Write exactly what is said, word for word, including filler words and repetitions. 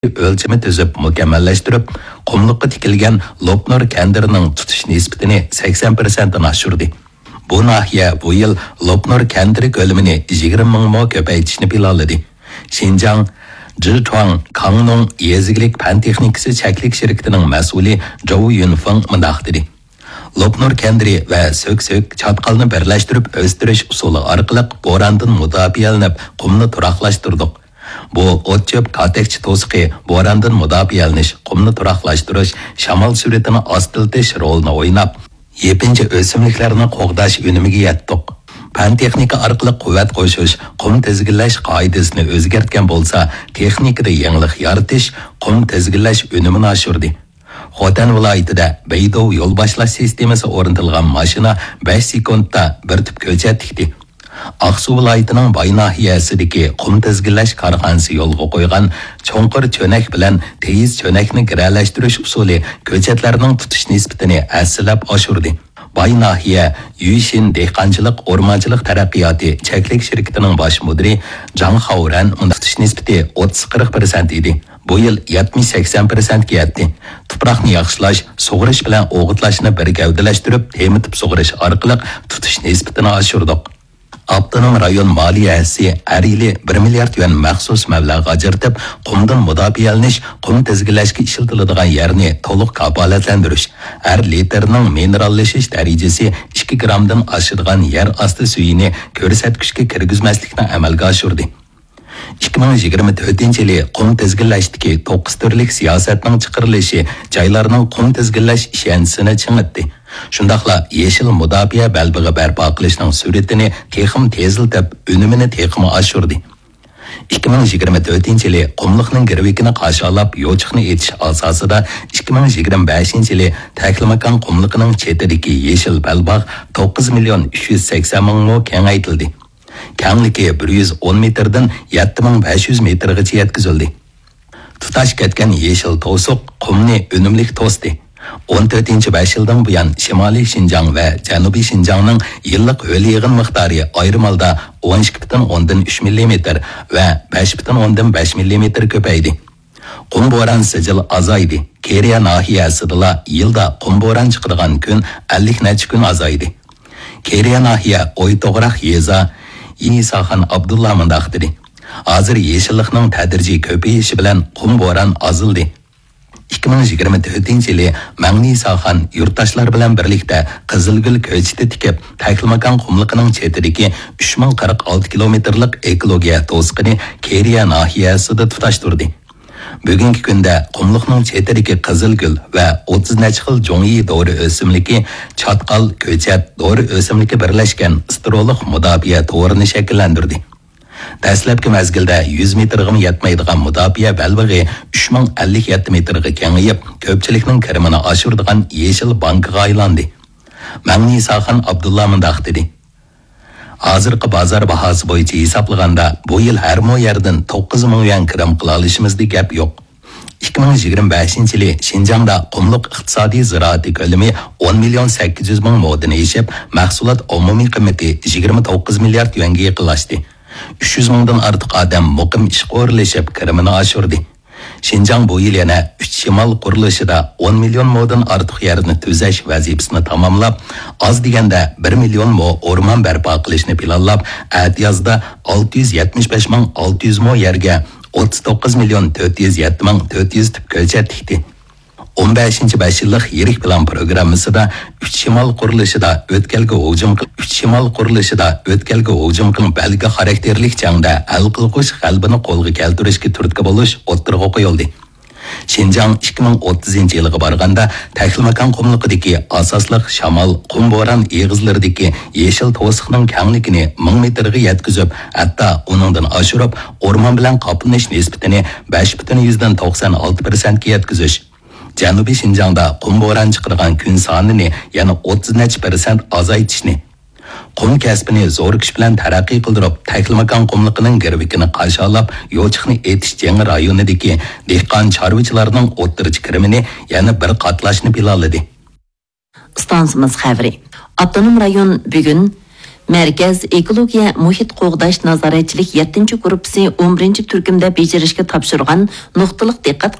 ئۆلچىمى تۈزۈپ مۇكەممەللەشتۈرۈپ، قۇملۇققا تىكىلگەن لوپنۇر كەندىرىنىڭ تۇتۇش نىسبىتىنى سەكسەن پىرسەنتتىن ئاشۇردى. بۇ ناھىيە بۇ يىل لوپنۇر كەندىرى كۆلىمىنى يىگىرمە مىڭ مو كۆپەيتىشنى پىلانلىدى. شىنجاڭ جىچۇاڭ كاڭنۇڭ يېزا ئىگىلىك پەن تېخنىكىسى چەكلىك شىركىتىنىڭ مەسئۇلى جوۋ يۈنفېڭ مۇنداق دېدى: لوپنۇر كەندىرى ۋە سۆكسۆك چاتقالنى بىرلەشتۈرۈپ ئۆستۈرۈش ئۇسۇلى ئارقىلىق بوراندىن مۇداپىئەلىنىپ، قۇمنى تۇراقلاشتۇردۇق. بۇ ئوت-چۆپ كاتەكچە توسۇقى، بوراندىن مۇداپىئەلىنىش، قۇمنى تۇراقلاشتۇرۇش، شامال سۈرئىتىنى ئاستىلىتىش رولىنى ئويناپ، يېپىنچا ئۆسۈملۈكلەرنى قوغداش ئۈنۈمىگە يەتتۇق. پەن تېخنىكا ئارقىلىق قۇۋۋەت قوشۇش، قۇم تىزگىنلەش قائىدىسىنى ئۆزگەرتكەن بولسا، تېخنىكىدا يېڭىلىق يارىتىش، قۇم تىزگىنلەش ئۈنۈمىنى ئاشۇردى. خوتەن ۋىلايىتىدە بەيدۇ يول باشلاش سىستېمىسى ئورنىتىلغان ماشىنا بەش سېكۇنتتا بىر تۈپ كۆچەت تىكتى. ئاقسۇ ۋىلايىتىنىڭ باي ناھىيەسىدىكى قۇم تىزگىنلەش كارخانىسى يولغا قويغان چوڭقۇر چۆنەك بىلەن تېيىز چۆنەكنى گىرەلەشتۈرۈش ئۇسۇلى كۆچەتلەرنىڭ تۇتۇش نىسبىتىنى ھەسسىلەپ ئاشۇردى. باي ناھىيە يۈشىن دېھقانچىلىق ئورمانچىلىق تەرەققىياتى چەكلىك شىركىتىنىڭ باش مۇدىرى جاڭ خاۋرەن مۇنداق تۇتۇش نىسبىتى ئوتتۇز قىرىق پىرسەنت ئىدى. بۇ يىل يەتمىش سەكسەن پىرسەنتكە يەتتى. تۇپراقنى ياخشىلاش، سۇغىرىش بىلەن ئوغۇتلاشنى بىر گەۋدىلەشتۈرۈپ، تېمىتىپ سۇغىرىش ئارقىلىق تۇتۇش نىسبىتىنى ئاشۇردۇق. ئاپتونوم رايون مالىيە ھەسسىسى ھەر يىلى بىر مىليارد يۈەن مەخسۇس مەبلەغ ئاجرىتىپ، قۇمدىن مۇداپىئەلىنىش، قۇم تىزگىنلەشكە ئىشلىتىلىدىغان يەرنى تولۇق كاپالەتلەندۈرۈش، ھەر لىتىرنىڭ مىنېراللىشىش دەرىجىسى ئىككى گرامدىن ئاشىدىغان يەر ئاستى سۈيىنى كۆرسەتكۈچكە كىرگۈزمەسلىكنى ئەمەلگە ئاشۇردى. ئىككى مىڭ يىگىرمە تۆتىنچى يىلى قۇم تىزگىنلەشتىكى توققۇز تۈرلۈك سىياسەتنىڭ چىقىرىلىشى جايلارنىڭ قۇم تىزگىنلەش ئىشەنچىسىنى چىڭىتتى. شۇنداقلا يېشىل مۇداپىئە بەلبېغى بەرپا قىلىشنىڭ سۈرئىتىنى تېخىمۇ تېزلىتىپ، ئۈنۈمىنى تېخىمۇ ئاشۇردى. ئىككى مىڭ يىگىرمە تۆتىنچى يىلى قۇملۇقنىڭ گىرۋىكىنى قاشالاپ، يوچۇقنى ئېتىش ئاساسىدا، ئىككى مىڭ يىگىرمە بەشىنچى يىلى تەكلىماكان قۇملۇقىنىڭ چېتىدىكى يېشىل بەلباغ توققۇز مىليون ئۈچ يۈز سەكسەن مىڭ مو كېڭەيتىلدى. كەڭلىكى بىر يۈز ئون مېتىردىن يەتتە مىڭ بەش يۈز مېتىرغىچە يەتكۈزۈلدى. تۇتاش كەتكەن يېشىل توسۇق قۇمنى ئۈنۈملۈك توستى. ئون تۆتىنچى بەش يىلدىن بۇيان، شىمالىي شىنجاڭ ۋە جەنۇبىي شىنجاڭنىڭ يىللىق ھۆل يېغىن مىقدارى ئايرىم ھالدا ئون ئىككى پۈتۈن ئوندىن ئۈچ مىللىمېتىر ۋە بەش پۈتۈن ئوندىن بەش مىللىمېتىر كۆپەيدى. قۇم بوران سىجىل ئازايدى. كېرىيە ناھىيەسىدىلا يىلدا قۇم بوران چىقىدىغان كۈن ئەللىك نەچچە كۈن ئازايدى. كېرىيە ناھىيە ئويتوغراق يېزا يىنىساخان ئابدۇللا مۇنداق دېدى: ھازىر يېشىللىقنىڭ تەدرىجىي كۆپىيىشى بىلەن قۇم بوران ئازلىدى. ئىككى مىڭ يىگىرمە تۆتىنچى يىلى مەڭنىساخان يۇرتداشلار بىلەن بىرلىكتە قىزىلگۈل كۆچىتى تىكىپ، تەكلىماكان قۇملۇقىنىڭ چېتىدىكى ئۈچ مىڭ قىرىق ئالتە كىلومېتىرلىق ئېكولوگىيە توسۇقىنى كېرىيە ناھىيەسىدە تۇتاشتۇردى. بۈگۈنكى كۈندە قۇملۇقنىڭ چېتىدىكى قىزىلگۈل ۋە ئوتتۇز نەچچە خىل جۇڭيى دورا ئۆسۈملۈكى، چاتقال، كۆچەت، دورا ئۆسۈملۈكى بىرلەشكەن ستېرېئولۇق مۇداپىئە تورىنى شەكىللەندۈردى. دەسلەپكى مەزگىلدە يۈز مېتىرغىمۇ يەتمەيدىغان مۇداپىئە بەلبېغى ئۈچ مىڭ ئەللىك يەتتە مېتىرغا كېڭىيىپ، كۆپچىلىكنىڭ كىرىمىنى ئاشۇرىدىغان يېشىل بانكىغا ئايلاندى. مەڭنىساخان ئابدۇللا مۇنداق دېدى: ھازىرقى بازار باھاسى بويىچە ھېسابلىغاندا، بۇ يىل ھەر مو يەردىن توققۇز مىڭ يۈەن كىرىم قىلالىشىمىزدا گەپ يوق. ئىككى مىڭ يىگىرمە بەشىنچى يىلى شىنجاڭدا قۇملۇق ئىقتىسادىي زىرائىتى كۆلىمى ئون مىليون سەككىز يۈز مىڭ مودىن ئېشىپ، مەھسۇلات ئومۇمىي قىممىتى يىگىرمە توققۇز مىليارد يۈەنگە يېقىنلاشتى. ئۈچ يۈز مىڭدىن ئارتۇق ئادەم مۇقىم ئىشقا ئورۇنلىشىپ، كىرىمىنى ئاشۇردى. شىنجاڭ بۇ يىل يەنە ئۈچ شىمال قۇرۇلۇشىدا ئون مىليون مودىن ئارتۇق يەرنى تۈزەش ۋەزىپىسىنى تاماملاپ، ئاز دېگەندە بىر مىليون مو ئورمان بەرپا قىلىشنى پىلانلاپ، ئەتىيازدا ئالتە يۈز يەتمىش بەش مىڭ ئالتە يۈز مو يەرگە ئوتتۇز توققۇز مىليون تۆت يۈز يەتتە مىڭ تۆت يۈز تۈپ كۆچەت تىكتى. ئون بەشىنچى بەش يىللىق يىرىك پىلان پروگراممىسىدا ئۈچ شىمال قۇرۇلۇشىدا ئۆتكەلگە ھۇجۇم قىل-، ئۈچ شىمال قۇرۇلۇشىدا ئۆتكەلگە ھۇجۇم قىلىپ، بەلگە خاراكتېرلىك جەڭدە ھەل قىلغۇچ غەلىبىنى قولغا كەلتۈرۈشكە تۈرتكە بولۇش ئوتتۇرىغا قويۇلدى. شىنجاڭ ئىككى مىڭ ئوتتۇزىنچى يىلغا بارغاندا، تەكلىماكان قۇملۇقىدىكى ئاساسلىق شامال، قۇم بوران ئېغىزلىرىدىكى يېشىل توسۇقنىڭ كەڭلىكىنى مىڭ مېتىرغا يەتكۈزۈپ، ھەتتا ئۇنىڭدىن ئاشۇرۇپ، ئورمان بىلەن قاپلىنىش نىسبىتىنى بەش پۈتۈن يۈزدىن توقسان ئالتە پىرسەنتكە يەتكۈزۈش، جەنۇبىي شىنجاڭدا قۇم بوران چىقىدىغان كۈن سانىنى يەنە ئوتتۇز نەچچە پىرسەنت ئازايتىشنى، قۇم كەسپىنى زور كۈچ بىلەن تەرەققىي قىلدۇرۇپ، تەكلىماكان قۇملۇقىنىڭ گىرۋىكىنى قاشالاپ، يوچۇقنى ئېتىش جېڭى رايونىدىكى دېھقان چارۋىچىلارنىڭ ئوتتۇرىچە كىرىمىنى يەنە بىر قاتلاشنى پىلانلىدى. ئىستانسىمىز خەۋىرى. ئاپتونوم رايون بۈگۈن مەركەز ئېكولوگىيە مۇھىت قوغداش نازارەتچىلىك يەتتىنچى گۇرۇپپىسى ئون بىرىنچى تۈركۈمدە بېجىرىشكە تاپشۇرغان نۇقتىلىق دىققەت